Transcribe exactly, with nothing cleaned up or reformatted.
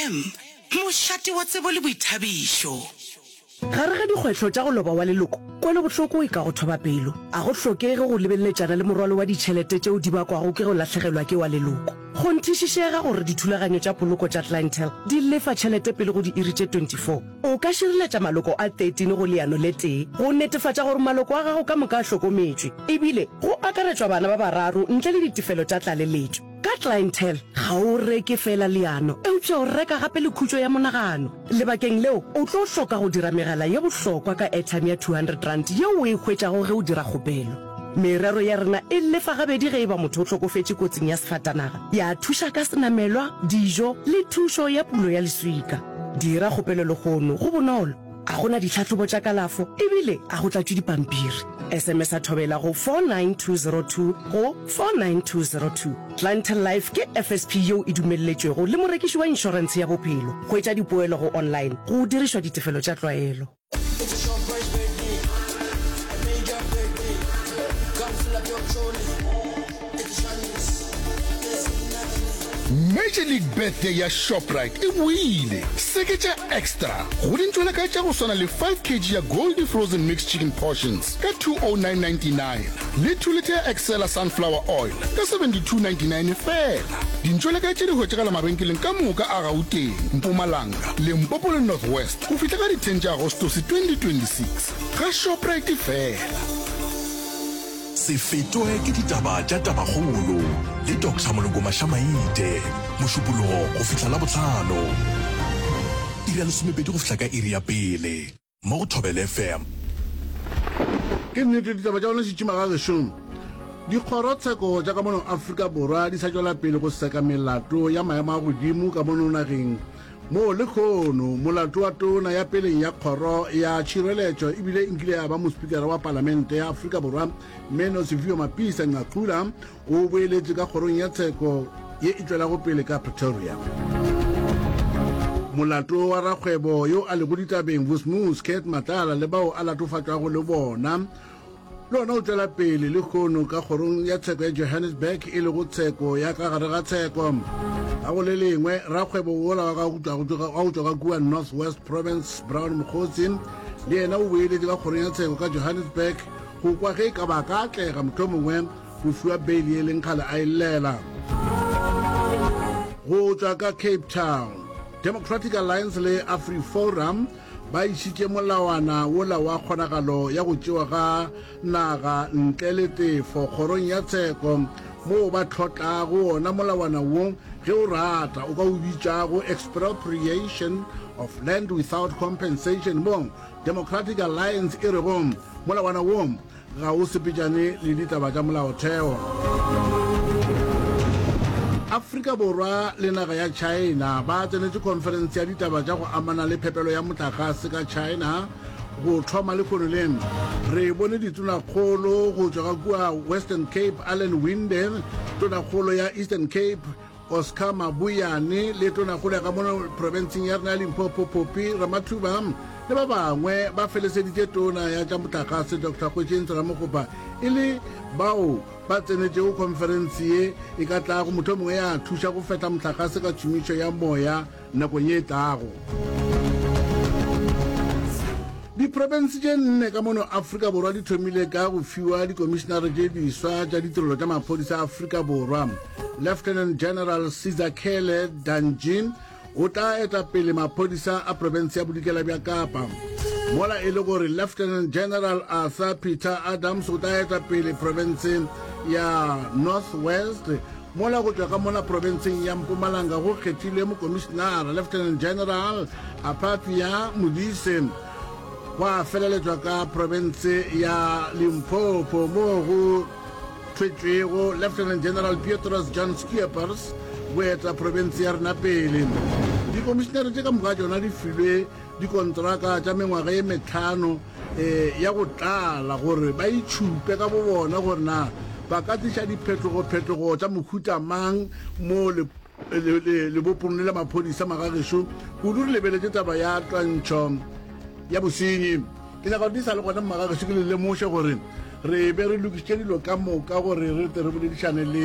F M, mošate wa tsebo le boithabišo. Gare ga dikgwetlho tša go loba wa leloko, kwelobohloko e ka go thoba pelo. A go hlokege go lebeleletšana le morwalo wa ditšhelete tšeo di bakwago ke go lahlegelwa ke wa leloko. Kgonthišišega gore dithulaganyo tša poloko tša Clientele di lefa tšhelete pele go diiri tše twenty four. O ka šireletša maloko a thirteen go leano le tee go netefatša gore maloko a gago ka moka a hlokometšwe, ebile go akaretšwa bana ba bararo ntle le ditefelo tša tlaleletšo. Ka Clientele, ga o reke feela leano, eupša o reka gape le khutšo ya monagano. Lebakeng leo, o tlo hloka go dira megala ye bohlokwa ka airtime ya two hundred rand yeo o e hwetšago ge o dira kgopelo. Merero ya rena e lefa gabedi ge e ba motho o hlokofetše kotsing ya sefatanaga, ya thuša ka senamelwa, dijo le thušo ya pulo ya leswika. Dira kgopelo lehono, go bonolo. A go na ditlhahlobo tša kalafo ebile a go tlatšwe dipampiri. S M S a Thobela go four nine two zero two go four nine two zero two. Clientele Life ke F S P yeo e dumelletšwego le morekiši wa inšorentshe ya bophelo. Hwetša dipoelo go online go dirišwa ditefelo tša tlwaelo. It's a Shoprite birthday, a major birthday. Come fill up your trolley. It's Chinese. There's nothing. Major League Birthday ya Shoprite e boile. Seketša extra go dintšweleka tša go swana le five kilograms ya Goldie Frozen Mixed Chicken Portions ka two oh nine ninety-nine le two litre ya Excella Sunflower Oil ka seventy-two ninety-nine fela. Dintšweleka tše di hwetšagala mabenkeleng ka moka a Gauteng, Mpumalanga, Limpopo le North West go fihla ka di ten tša Agostose twenty twenty-six. Ga Shoprite fela. Se fetwe ke ditaba tša Tabakgolo le Doctor Moloko Mašamaite, Mošupologo go fihla Labohlano, iri ya lesomepedi go fihla ka iri ya pele, mo go Thobela F M. Ke nnete, ditaba tša gona šitšima ga gešo. Dikgorotsheko tša ka mono Afrika Borwa di sa tšwela pele go seka melato ya maemo a godimo ka mono nageng, moo lekgono molato wa tona ya peleng ya kgoro ya tšhireletšo ebile nkile ya ba mospikara wa palamente ya Afrika Borwa, mme Nosiviwe Mapisa Nqakula, o boeletše ka kgorong ya tsheko ye e tšwelago pele ka Pretoria. Molato wa rakgwebo yo a lego ditabeng Vusimuzi Cat Matlala le bao a latofatšwago le bona le ona o tšwela pele lekgono ka kgorong ya tsheko ya Johannesburg, e lego tsheko ya ka gare ga tsheko. Ga go le lengwe, rakgwebo wola wa go tšwa ka kua North West Province, Brown Mokgotsi, le yena o boeletše ka kgorong ya tsheko ka Johannesburg go kwa ge e ka ba ka atlega mohlomongwe go fiwa beile e leng kgale a e llela. Go tšwa ka Cape Town, Democratic Alliance le AfriForum ba išitše molawana wola wa kgonagalo ya go tšewa ga naga ntle le tefo kgorong ya tsheko, moo ba tlhotlago wona molawana wo, ge o rata o ka o bitšago expropriation of land without compensation, mo Democratic Alliance e rego molawana wo ga o sepetšane le ditaba tša molaotheo. Afrika Borwa le naga ya China ba tsenetše conference ya ditaba tša go amana le phepelo ya motlakase ka China go thoma lekgono le. Re bone ditonakgolo go tšwa ka kua Western Cape, Alan Winde, tonakgolo ya Eastern Cape, Oscar Mabuyane, le tonakgolo ya ka mono provinceng ya rena ya Limpopo, Phophi Ramathuba, le ba bangwe ba feleseditše tona ya tša motlakase Doctor Kgosientsho Ramokgopa e le bao ba tsenetšego conference ye e ka tlago mohlomongwe ya thuša go fehla motlakase ka tšhomišo ya moya nakong ye e tlago. Diprofense tše nne ka mono Afrika Borwa di thomile ka go fiwa dikomišenare tše diswa tša ditirelo tša maphodisa a Afrika Borwa. Lieutenant General Sizakele Danji o tla eta pele maphodisa a profense ya Bodikela bja Kapa, mola e le gore Lieutenant General Arthur Peter Adams o tla eta pele profense ya North West, mola go tšwa ka mola profenseng ya Mpumalanga go kgethilwe mokomišenara Lieutenant General Apapia Modise. Gwa feleletšwa ka profense ya Limpopo, moo go thwetšwego Lieutenant General Petrus John Scheepers go eta profense ya rena pele. Dikomišenare tše ka moka tšona di filwe dikontraka tša mengwaga ye metlhano um ya go tlala gore ba itšhupe ka bo bona gore na ba ka tliša diphetogo-phetogo tša mohuta mang mo lebopong le la maphodisa magagešo, kudu re lebeletše taba ya twantšho ya bosenyi. Ke nyaka gore di sa le gona, mmagagešo, ke le lemoše gore re be re lokišitše dilo ka moka gore re tle re boledišane le